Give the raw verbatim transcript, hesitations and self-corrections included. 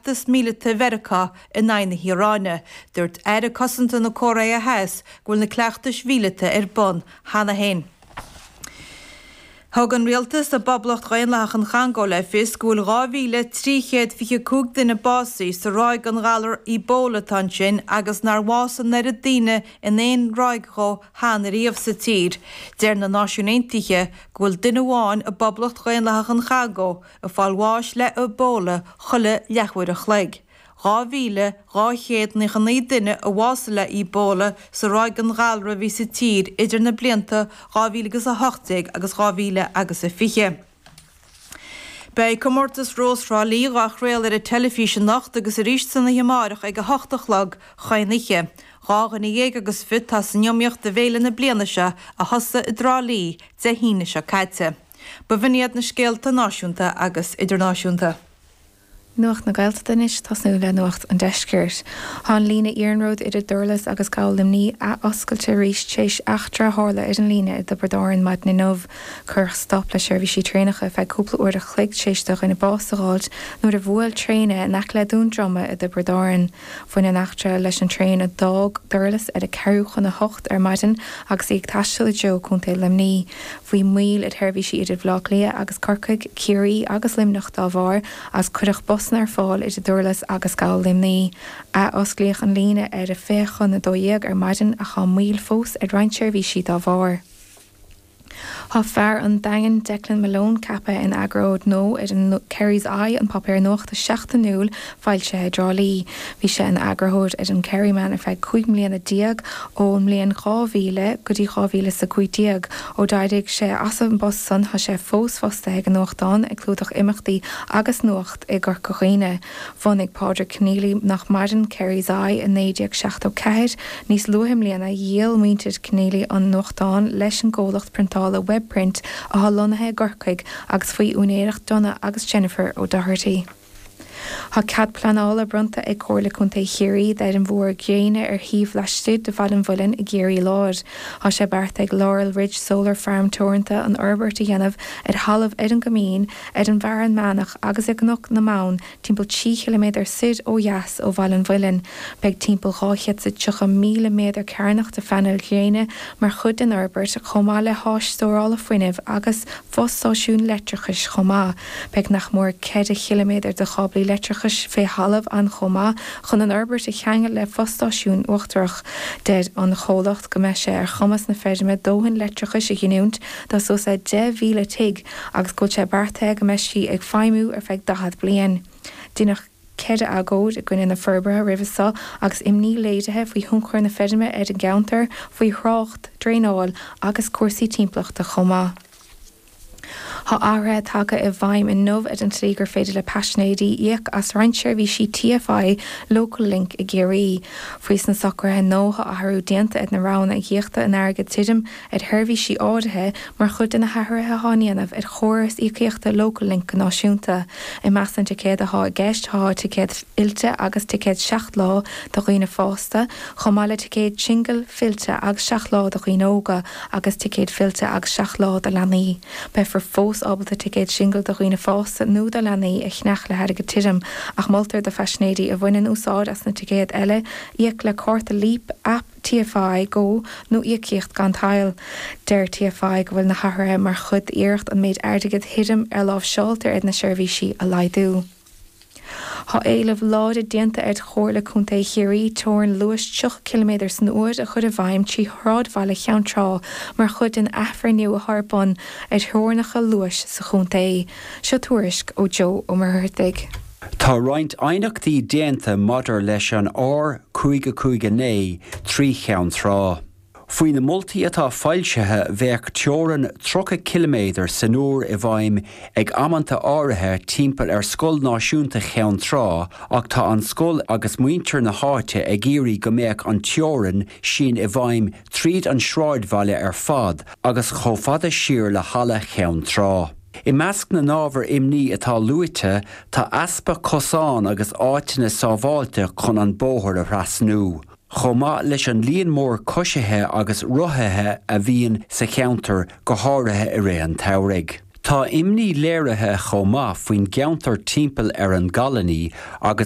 feachtas míleata Mheiriceá in aghaidh na hIaráine. Dúirt Aire Cosanta na Cóiré Theas go bhfuil na cleachtais mhíleata ar bun cheana féin. Thug an rialtas i bPoblacht Dhaonlathach an Chongó le fios go bhfuil dhá mhíle trí chéad fiche cúig duine básaithe sa ráig den ghalar Ebola atá ansin agus nár bhásaigh an oiread daoine in aon ráig dhó cheana riamh sa tír. Deir na Náisiúin Aontaithe go bhfuil duine amháin i bPoblacht Dhaonlathach an Chongó ag fáil bháis le Ebola chuile leathuair a chloig. Dhá mhíle dhá chéad nócha naoi duine a bhásaigh le Ebola sa ráig den ghalar a bhí sa tír idir na blianta dhá mhíle agus a hocht déag agus dhá mhíle agus a fiche. Beidh comórtas Rós Thrá Lí á chraoladh ar an teilifís anocht agus arís san oíche amárach ag a hocht a chlog chaon oíche. Dhá dhuine dhéag agus fiche atá san iomaíocht do bhféile na bliana seo a thosaigh i dTrá Lí Dé hAoine seo caite. Ba bh'in iad na scéalta náisiúnta agus idirnáisiúnta. Nuacht na Gaeltachta anois tosnú le nuacht an deiscirt. Tá an líne iarnróid idir Durlas agus Gabhal Luimnigh athoscailte arís tar éis eachtra a tharla ar an líne i dTiobraid Árann maidin inniu. Cuireadh stop le seirbhísí traenacha feadh cúpla uair a chloig tar éis do dhuine bás a fháilt nuair a bhuail traein é in aice le Dún Droma i dTiobraid Árann. Bhain an eachtra leis an traein a d'fhág Durlas ar a ceathrú chun a hocht ar maidin agus í ag taisteal i dtreo Contae Luimnigh. Bhí moill ar sheirbhísí idir Bhaile Átha Cliath agus Corcaigh, Ciarraí agus Luimneach dá bharr agus cuireadh busanna ar fáil idir Durlas agus Gabhal Luimnigh. Athosclaíodh an líne ar a fiche chun a dó dhéag ar maidin ach tá moill fós ar roinnt seirbhísí dá bharr. Tá fear an Daingin Declan Malone ceaptha ina eagarthóir nua ar an Kerry's Eye an páipéar nuachta seachtainiúil foilsithe i dTrá Lí. Bhí sé ina eagarthóir ar an Kerryman ar feadh cúig mbliana déag ón mbliain dhá mhíle go dtí dhá mhíle is a cúig déag. Ó d'éirigh sé as an bpost san tá sé fós fostaithe ag an nuachtán ag clúdach imeachtaí agus nuacht i gCorca Dhuibhne. Bhunaigh Pádraig Keneally nach maireann Kerry's Eye i naoi déag seachtó ceathair. Níos luaithe i mbliana dhíol muintir Keneally an nuachtán leis an gcomhlacht priontála Webprint atá lonnaithe i gCorcaigh agus faoi úinéireacht Donna agus Jennifer O'Doherty. Tá cead pleanála bronnta ag Comhairle Contae Chiarraí d'fheirm mhór gréine ar shuíomh laistigh de Bhaile an Mhuilinn i gCiarraí Láir. Tá sé beartaithe ag Laurel Ridge Solar Farm Teoranta an fhorbairt a dhéanamh ar thalamh ar an gCoimín, ar an bhFearann Meánach agus i gCnoc na mBonn, timpeall trí chiliméadar soir ó dheas ó Bhaile an Mhuilinn. Beidh timpeall dhá chéad is tríocha míle méadar cearnach de phainéil ghréine mar chuid den fhorbairt, chomh maith le háis stórála fuinnimh agus fostáisiún leictreachais chomh maith. Beidh nach mór ceithre chiliméadar de cháblaí leictreachais fé thalamh ann chomh maith chun an fhorbairt a cheangal le fostáisiún uachtarach. Deir an chomhlacht go mbeidh sé ar chumas na feirme dóthain leictreachais a ghiniúint do suas le deich mhíle tigh agus go bhfuil sé beartaithe go mbeidh sí ag feidhmiú ar feadh daichead bliain. Deineadh ceithre agóid i gcoinne na forbartha roimhe seo agus imní léirithe faoi thionchar na feirme ar an gceantar, faoi thrácht, draenáil agus cúrsaí timpeallachta chomh maith. Tá athruithe tagtha i bhfeidhm inniu ar an tslí gur féidir le paisinéirí íoc as roinnt seirbhísí TFI Local Link i gCiarraí. Faoi sna socruithe nua tá athrú déanta ar na roghanna íocaíochta in airgead tirim ar sheirbhísí áirithe mar chuid de na hathruithe atá á ndéanamh ar chóras íocaíochta Local Link go náisiúnta. I measc na dticéad atá i gceist tá ticéad fillte agus ticéad seacht lá do dhaoine fásta, chomh maith le ticéad singil, fillte agus seacht lá do dhaoine óga agus ticéad fillte agus seacht lá do leanaí. Beifear fós ábalta ticéad singil do dhaoine fásta nó do leanaí a cheannach le hairgead tirim, ach moltar do phaisinéirí a bhaineann úsáid as na ticéid eile íoc le cárta Leap, aip TFI Go nó íocaíocht gan tadhall. Deir TFI go bhfuil na hathruithe mar chuid d'iarracht an méid airgid thirim a láimhseáiltear ar na seirbhísí a laghdú. Tá éileamh láidir déanta ar Chomhairle Contae Chiarraí teorainn luais tríocha ciliméadar san uair a chur i bhfeidhm trí shráidbhaile Cheann Trá mar chuid den athbhreithniú atá ar bun ar theorainneacha luais sa chontae. Seo tuairisc ó Joe Ó Muircheartaigh. Tá roinnt aighneachtaí déanta maidir leis an R cúig a cúig a naoi trí Cheann Trá. Faoi na moltaí atá foilsithe bheadh teorainn tríocha ciliméadar san uair i bhfeidhm ag amanta áirithe timpeall ar Scoil Náisiúnta Cheann Trá ach tá an scoil agus muintir na háite ag iarraidh go mbeadh an teorainn sin i bhfeidhm tríd an sráidbhaile ar fad agus chomh fada siar le halla Cheann Trá. I measc na n-ábhar imní atá luaite tá easpa cosán agus áiteanna sábháilte chun an bóthar a thrasnú. Chomh maith leis an líon mór coisithe agus rothaithe a bhíonn sa cheantar go háirithe i rith an tsamhraidh. Tá imní léirithe chomh maith faoin gceantar timpeall ar an gColony agus